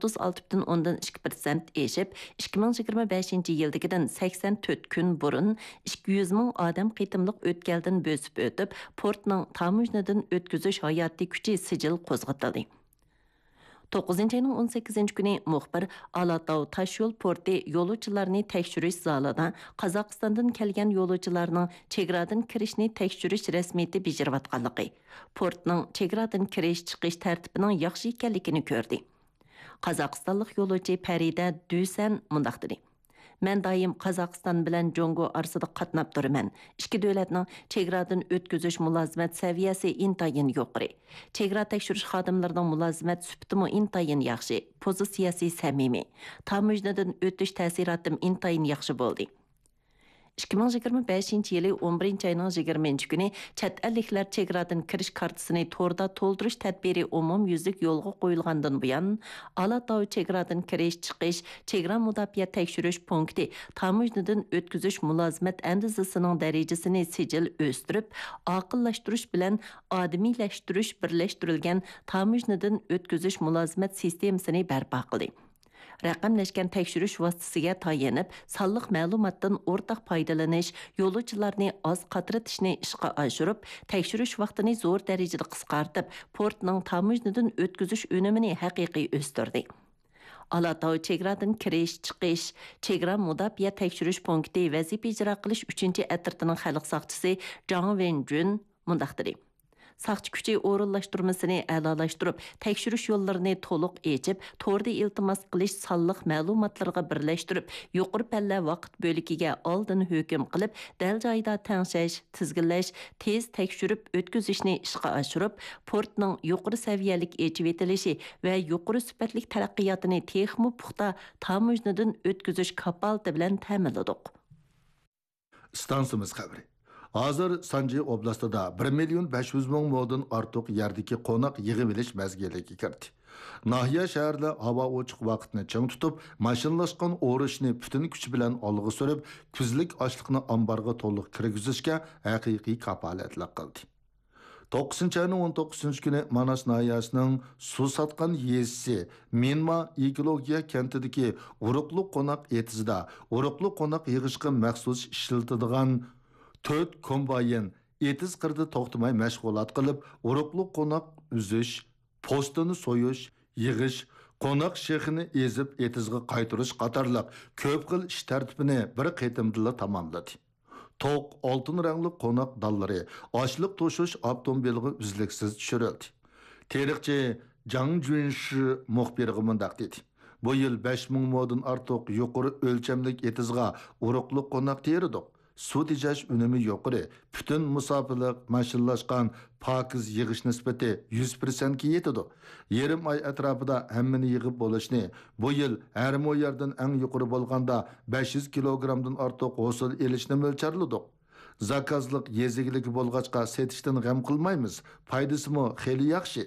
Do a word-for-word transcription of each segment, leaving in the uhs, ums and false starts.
ئوتتۇز ئالتە پۈتۈن ئوندىن ئىككى پىرسەنت ئېشىپ، ئىككى مىڭ يىگىرمە بەشىنچى يىلدىكىدىن سەكسەن تۆت كۈن بۇرۇن ئىككى يۈز مىڭ ئادەم قېتىملىق ئۆتكەلدىن بۆسۈپ ئۆتۈپ، پورتنىڭ تاموژنىدىن ئۆتكۈزۈش ھاياتىي كۈچى سىجىل قوزغىتىلدى. توققۇزىنچى ئاينىڭ ئون سەككىزىنچى كۈنى مۇخبىر ئالاتاۋ تاشيول پورتى يولۇچىلارنى تەكشۈرۈش زالىدا قازاقىستاندىن كەلگەن يولۇچىلارنىڭ چېگرادىن كىرىشنى تەكشۈرۈش رەسمىيىتى بېجىرىۋاتقانلىقى، پورتنىڭ چېگرادىن كىرىش، چىقىش تەرتىپىنىڭ ياخشى ئىكەنلىكىنى كۆردى. قازاقىستانلىق يولۇچى پەرىدە دۈسەن مۇنداق دېدى: مەن دائىم قازاقىستان بىلەن جۇڭگو ئارىسىدا قاتناپ تۇرىمەن. ئىككى دۆلەتنىڭ چېگرادىن ئۆتكۈزۈش مۇلازىمەت سەۋىيەسى ئىنتايىن يۇقىرى. چېگرا تەكشۈرۈش خادىملىرىنىڭ مۇلازىمەت سۈپىتىمۇ ئىنتايىن ياخشى، پوزىتسىيەسى سەمىمىي. تاموژنىدىن ئۆتۈش تەسىراتىم ئىنتايىن ياخشى بولدى. ئىككى مىڭ يىگىرمە بەشىنچى يىلى ئون بىرىنچى ئاينىڭ يىگىرمىنچى كۈنى چەت ئەللىكلەر چېگرادىن كىرىش كارتىسىنى توردا تولدۇرۇش تەدبىرى ئومۇميۈزلۈك يولغا قويۇلغاندىن بۇيان، ئالاتاۋ چېگرادىن كىرىش، چىقىش، چېگرا مۇداپىئە تەكشۈرۈش پونكىتى تاموژنىدىن ئۆتكۈزۈش مۇلازىمەت ئەندىزىسىنىڭ دەرىجىسىنى سىجىل ئۆستۈرۈپ، ئاقىللاشتۇرۇش بىلەن ئادىمىيلەشتۈرۈش بىرلەشتۈرۈلگەن تاموژنىدىن ئۆتكۈزۈش مۇلازىمەت سىستېمىسىنى بەرپا قىلدى. رەقەملەشكەن تەكشۈرۈش ۋاسىتىسىگە تايىنىپ، سانلىق مەلۇماتتىن ئورتاق پايدىلىنىش، يولۇچىلارنى ئاز قاترىتىشنى ئىشقا ئاشۇرۇپ، تەكشۈرۈش ۋاقتىنى زور دەرىجىدە قىسقارتىپ، پورتنىڭ تاموژنىدىن ئۆتكۈزۈش ئۈنۈمىنى ھەقىقىي ئۆستۈردى. ئالاتاۋ چېگرادىن كىرىش، چىقىش، چېگرا مۇداپىئە تەكشۈرۈش پونكىتى ۋەزىپە ئىجرا قىلىش ئۈچىنچى ئەترىتىنىڭ خەلق ساقچىسى جاڭ ۋېنجۈن مۇنداق دېدى: ساقچى كۈچى ئورۇنلاشتۇرمىسىنى ئەلالاشتۇرۇپ، تەكشۈرۈش يوللىرىنى تولۇق ئېچىپ، توردا ئىلتىماس قىلىش سانلىق مەلۇماتلىرىغا بىرلەشتۈرۈپ، يۇقىرى پەللە ۋاقىت بۆلىكىگە ئالدىن ھۆكۈم قىلىپ، دەل جايىدا تەڭشەش، تىزگىنلەش، تېز تەكشۈرۈپ ئۆتكۈزۈشنى ئىشقا ئاشۇرۇپ، پورتنىڭ يۇقىرى سەۋىيەلىك ئېچىۋېتىلىشى ۋە يۇقىرى سۈپەتلىك تەرەققىياتىنى تېخىمۇ پۇختا تاموژنىدىن ئۆتكۈزۈش كاپالىتى بىلەن تەمىنلىدۇق. ئىستانسىمىز خەۋىرى. ھازىر سانجى ئوبلاستىدا بىر مىليون بەش يۈز مىڭ مودىن ئارتۇق يەردىكى قوناق يىغىۋېلىش مەزگىلىگە كىردى. ناھىيە، شەھەرلەر ھاۋا ئوچۇق ۋاقىتنى چىڭ تۇتۇپ، ماشىنىلاشقان ئورۇشنى پۈتۈن كۈچ بىلەن ئالغا سۈرۈپ، كۈزلۈك ئاشلىقنى ئامبارغا تولۇق كىرگۈزۈشكە ھەقىقىي كاپالەتلىك قىلدى. توققۇزىنچى ئاينىڭ ئون توققۇزىنچى كۈنى ماناس ناھىيەسىنىڭ سۇساتقان يېزىسى مىنما ئېكولوگىيە كەنتىدىكى ئۇرۇقلۇق قوناق ئېتىزىدا ئۇرۇقلۇق قوناق يىغىشقا مەخسۇس ئىشلىتىدىغان تۆت كومباين ئېتىز قىرىدا توختىماي مەشغۇلات قىلىپ، ئۇرۇقلۇق قوناق ئۈزۈش، پوستىنى سويۇش، يىغىش، قوناق شېخىنى ئېزىپ ئېتىزغا قايتۇرۇش قاتارلىق كۆپ خىل ئىش تەرتىپىنى بىر قېتىمدىلا تاماملىدى. توق، ئالتۇن رەڭلىك قوناق دانلىرى ئاشلىق توشۇش ئاپتوموبىلىغا ئۈزلۈكسىز چۈشۈرۈلدى. تېرىقچى جاڭ جۈنشى مۇخبىرغا مۇنداق دېدى: بۇ يىل بەش مىڭ مودىن ئارتۇق يۇقىرى ئۆلچەملىك ئېتىزغا ئۇرۇقلۇق قوناق تېرىدۇق. سۇ تېجەش ئۈنۈمى يۇقىرى، پۈتۈن مۇساپىلىق ماشىنىلاشقان پاكىز يىغىش نىسبىتى يۈز پىرسەنتكە يېتىدۇ. يېرىم ئاي ئەتراپىدا ھەممىنى يىغىپ بولۇشنى، بۇ يىل ھەر مو يەردىن ئەڭ يۇقىرى بولغاندا بەش يۈز كىلوگرامدىن ئارتۇق ھوسۇل ئېلىشنى مۆلچەرلىدۇق. زاكازلىق يېزا ئىگىلىكى بولغاچقا سېتىشتىن غەم قىلمايمىز، پايدىسىمۇ خېلى ياخشى.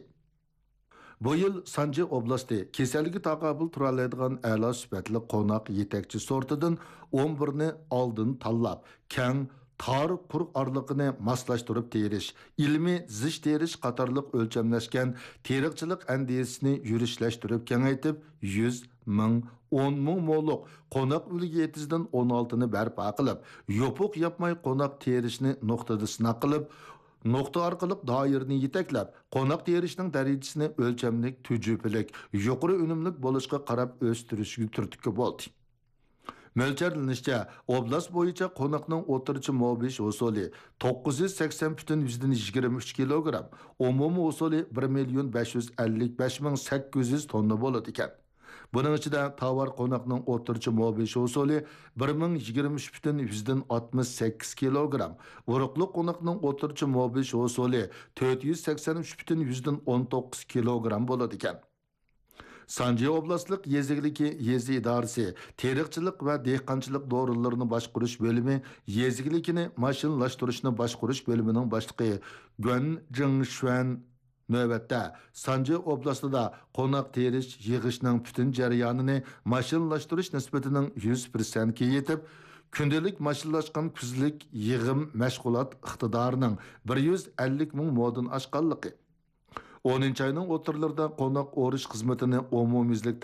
بۇ يىل سانجى ئوبلاستى كېسەلگە تاقابىل تۇرالايدىغان ئەلا سۈپەتلىك قوناق يېتەكچى سورتىدىن ئون بىرنى ئالدىن تاللاپ، كەڭ، تار قۇر ئارىلىقىنى ماسلاشتۇرۇپ تېرىش، ئىلمىي زىچ تېرىش قاتارلىق ئۆلچەملەشكەن تېرىقچىلىق ئەندىزىسىنى يۈرۈشلەشتۈرۈپ كېڭەيتىپ، يۈز، مىڭ، ئون مىڭ مولۇق قوناق ئۈلگە ئېتىزىدىن ئون ئالتىنى بەرپا قىلىپ، يوپۇق ياپماي قوناق تېرىشنى نۇقتىدا سىناق قىلىپ، نۇقتا ئارقىلىق دائىرىنى يېتەكلەپ، قوناق تېرىشنىڭ دەرىجىسىنى ئۆلچەملىك، تۈجۈپىلىك، يۇقىرى ئۈنۈملۈك بولۇشقا قاراپ ئۆستۈرۈشكە تۈرتكە بولدى. مۆلچەرلىنىشىچە، ئوبلاست بويىچە قوناقنىڭ ئوتتۇرىچە مو بېيىش ھوسۇلى توققۇز يۈز سەكسەن پۈتۈن يۈزدىن يىگىرمە ئۈچ كىلوگرام، ئومۇمىي ھوسۇلى بىر مىليون بەش يۈز ئەللىك بەش مىڭ سەككىز يۈز توننا بولىدىكەن. بۇنىڭ ئىچىدە تاۋار قوناقنىڭ ئوتتۇرىچە مو بېيىش ھوسۇلى بىر مىڭ يىگىرمە ئۈچ پۈتۈن يۈزدىن ئاتمىش سەككىز كىلوگرام، ئۇرۇقلۇق قوناقنىڭ ئوتتۇرىچە مو بېيىش ھوسۇلى تۆت يۈز سەكسەن ئۈچ پۈتۈن يۈزدىن ئون توققۇز كىلوگرام بولىدىكەن. سانجى ئوبلاستلىق يېزا ئىگىلىكى يېزا ئىدارىسى تېرىقچىلىق ۋە دېھقانچىلىق دورىلىرىنى باشقۇرۇش بۆلۈمى يېزا ئىگىلىكىنى ماشىنىلاشتۇرۇشنى باشقۇرۇش بۆلۈمىنىڭ باشلىقى گۇەن جىڭشۈەن نۆۋەتتە سانجى ئوبلاستىدا قوناق تېرىش، يىغىشنىڭ پۈتۈن جەريانىنى ماشىنىلاشتۇرۇش نىسبىتىنىڭ يۈز پىرسەنتكە يېتىپ، كۈندىلىك ماشىنىلاشقان كۈزلۈك يىغىم مەشغۇلات ئىقتىدارىنىڭ بىر يۈز ئەللىك مىڭ مودىن ئاشقانلىقى، ئونىنچى ئاينىڭ ئوتتۇرىلىرىدا قوناق ئورۇش خىزمىتىنى ئومۇميۈزلۈك تامام